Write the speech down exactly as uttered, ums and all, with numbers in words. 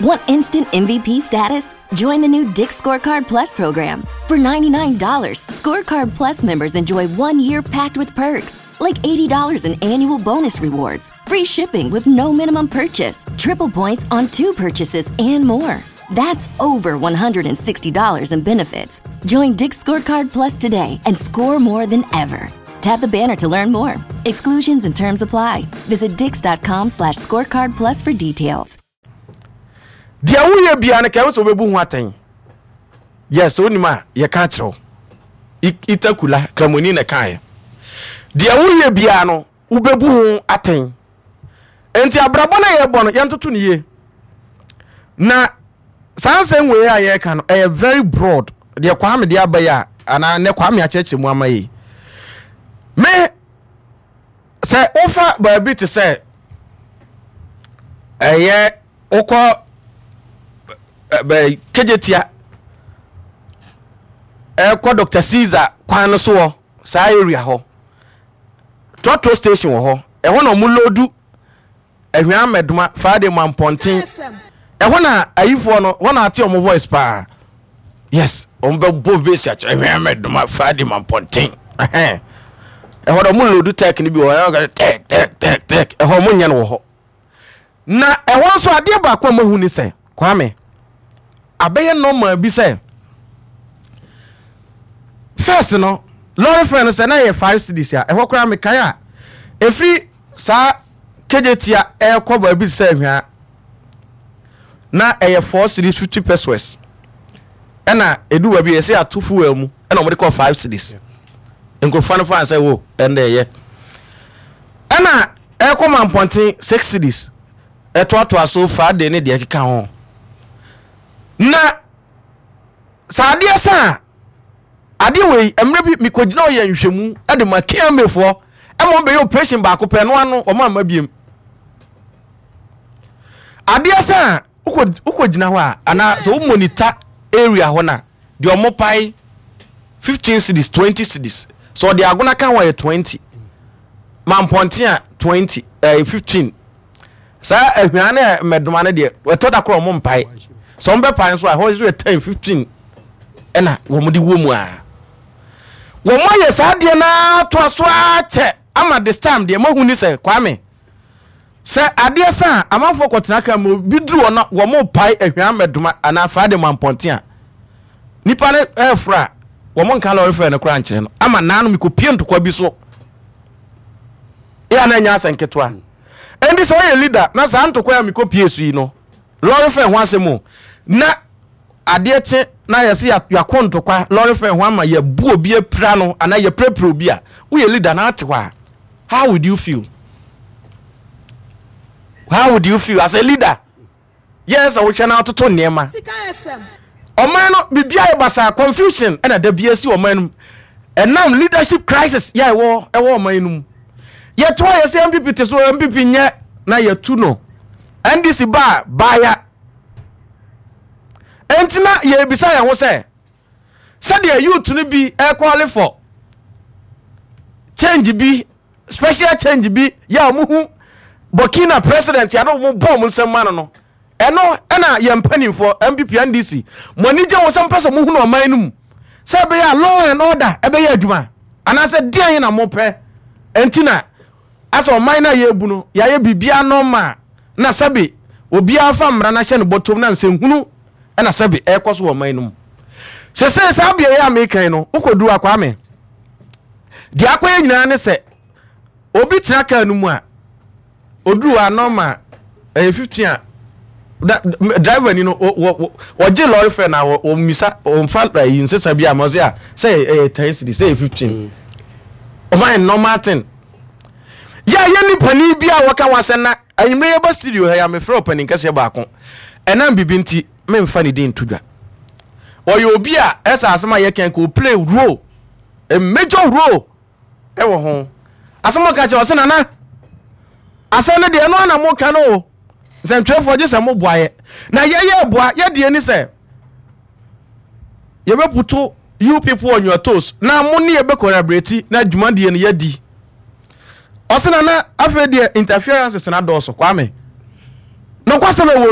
Want instant M V P status? Join the new Dick's Scorecard Plus program. For ninety-nine dollars, Scorecard Plus members enjoy one year packed with perks, like eighty dollars in annual bonus rewards, free shipping with no minimum purchase, triple points on two purchases, and more. That's over one hundred sixty dollars in benefits. Join Dick's Scorecard Plus today and score more than ever. Tap the banner to learn more. Exclusions and terms apply. Visit dicks dot com slash scorecard plus for details. Deɛ woyɛ bia no, kɛwo sɛ wobɛbu ho atɛn. Yes, wonim a yɛka kyerɛ wo. Itakula kramoni na kaeɛ, deɛ woyɛ bia no, wobɛbu ho atɛn. Nti abrabɔ no a yɛbɔ no, yɛntoto no yie. Na saa nsɛm wei a yɛreka no, ɛyɛ very broad. Deɛ Kwame de aba yi a, anaa nɛ Kwame akyerɛkyerɛ mu ama yi me sɛ wofa baabi te sɛ ɛyɛ wokɔ bɛ Kejetia, ɛkɔ Doctor Caesar kwan no so wɔ saa area hɔ, trɔtrɔ station wɔ hɔ. Ɛhɔ na ɔmo load Ahwea Mɛdoma Friday ma mpɔnten. Ɛhɔ na ayifoɔ no wɔn na ate ɔmo voice paa. Yes, ɔmo bɛ bɔ bass akyerɛ Ahwea Mɛdoma Friday ma mpɔnten. Ɛhɛn, ɛhɔ na ɔmo load tech no bi wɔ hɔ, ɛhɔ tech tech tech tech. Ɛhɔ ɔmo nyɛ no wɔ hɔ. Na ɛhɔ nso, adeɛ baako a mo hu ni sɛ, Kwame, abɛyɛ normal bi sɛ first no, lorry fare no sɛ na yɛ five cedis a, ɛhɔ koraa mekae a, ɛfiri saa Kejetia ɛrekɔ baabi sɛ Ahwea na ɛyɛ four cedis fifty pesewas. Ɛna edu baabi yɛsɛ ato fuel mu, ɛna wɔde kɔ five cedis. Nkurɔfoɔ no fa sɛ wo ɛnna ɛyɛ, ɛna ɛrekɔ ma mpɔnten six cedis, ɛtoatoa so Friday ne deɛ ɛkeka ho. Na saa adeɛ sa a, adeɛ wei, mmerɛ bi mekɔgyina ɔyɛ nhwɛmu ɛde ma K M A foɔ, ɛma wɔn bɛyɛ operation baako pɛ no ano, wɔn amma biem. Adeɛ sa a, wokɔ wokɔgyina hɔ a, anaa sɛ wo monitor area hɔ na deɛ ɔmo pae fifteen cedis, twenty cedis, sɛ ɔde Agona ka ho a, yɛ twenty, ma mpɔnten a twenty, ɛɛ fifteen. Saa Ahwia ne Mmɛdoma no deɛ, ɛtɔ da korɔ ɔmo mpae. Sɛ ɔmo bɛpae nso a, ɛhɔ nso yɛ ten, fifteen, ɛna wɔn de wɔ mu a wɔn ayɛ saa adeɛ naa to aso akyɛ ama. This time deɛ, mahu ni sɛ, Kwame, sɛ adeɛ sa a, amanfoɔ kɔtena kaa mu bi duru hɔ na wɔn pae Ahwia Mmɛdoma anaa Faade ma mpɔnten a, nipa no ɛɛforo a, wɔn nka lorry fare no koraa nkyerɛ no. Ama naanu mi kɔ pie ntokwa bi so yɛ a, na ɛnyɛ asɛ nketewa. Ɛnti sɛ ɔyɛ leader na saa ntokwa a mekɔ pie so yi no, lorry fare ho asɛm o, na adeɛ kye na yɛsɛ yɛakɔ ntokwa lorry fare ho ama yɛbu obi apira no anaa yɛpirapira obi a, woyɛ leader na ate hɔ a, how would you feel? How would you feel as a leader? Yɛn sɛ wohwɛ na atoto nneɛma, ɔman no biribiara yɛ basaa, confusion ɛna da bi asi ɔman no mu, ɛnam leadership crisis yɛ ɛwɔ ɛwɔ ɔman no mu. Yɛto a, yɛsɛ N P P te so, N P P nyɛ na yɛtu no, N D C ba baaya. Ɛnti na yɛbisa yɛn ho sɛ, sɛdeɛ youth no bi ɛ call for change bi, special change bi yɛ a wɔn hu Burkina president yɛ no, wɔn bɔ wɔn nsɛm ma no no ɛno ɛna yɛn mpanimfoɔ N P P, N D C, mo ani gye wɔn sɛ mpɛ sɛ mo hunu ɔman no mu sɛ ɛbɛyɛ a law and order ɛbɛyɛ adwuma, anaasɛ deɛn na mo pɛ? Ɛnti na asɛ ɔman no a yɛrebu no, yɛayɛ biribiara normal na sɛbi obiara fa mmara no ahyɛ no bɔtɔm na nsɛnhunu ɛna sɛbi ɛrekɔ so wɔ ɔman no mu. Sɛsɛ saa beaeɛ a mekan no, wokɔduru akwame deɛ akɔyɛ nyinaa ne sɛ obi tena kaa no mu a, oduru a normal ɛyɛ fifteen a, da driver ni no wɔgye lorry fare na wɔmisa, wɔmfa ɛyi nsesa bi a ma ɔsɛ a sɛ ɛyɛ ten cedis, sɛ ɛyɛ fifteen. Ɔman yɛ normal thing yɛ a, yɛ nipa ni bi a wɔka wɔn asɛm. Na anwummerɛ yɛba studio ha yi a, mefrɛ ɔpanin kɛseɛ baako, ɛnam bibi nti memfa ne din nto dwa. Ɔyɛ obi a ɛsɛ asɛm a yɛkɛn ko play role, a major role ɛwɔ ho. Asɛm a ɔka kyerɛ, ɔsɛ, "Nana, asɛm no deɛ, ɛno ana moka no o. Nsɛntwerɛfoɔ gye sɛ moboa yɛ na yɛyɛ boa yɛdeɛ ni sɛ yɛbɛ put you people on your toes na mo ne yɛbɛ collaborate na dwumadie no yɛdi." Ɔsɛ, "Nana, afei deɛ interferences na dɔɔso." Kwame, nokwasɛm ɛwɔ